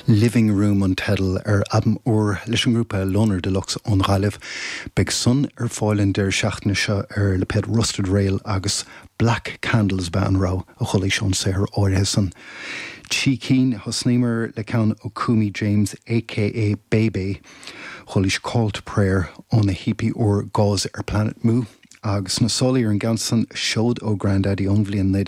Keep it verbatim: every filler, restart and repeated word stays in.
Living Room an teideal ar albam úr leis an ngrúpa Loner Deluxe ón Ghaillimh. Beidh san ar fáil an deireadh seachtaine seo ar lipéad Rusted Rail agus Black Candles ba an rogha a chualaís ón saothar áirithe san. Trí cinn thosnaíomar le ceann ó Coomy James aka Bebe, chualaís Call to Prayer óna EP úr Gauze ar Planet Mu. agus na sálaí ar an gceann san seod ó Grandaddy ón bhliain naoi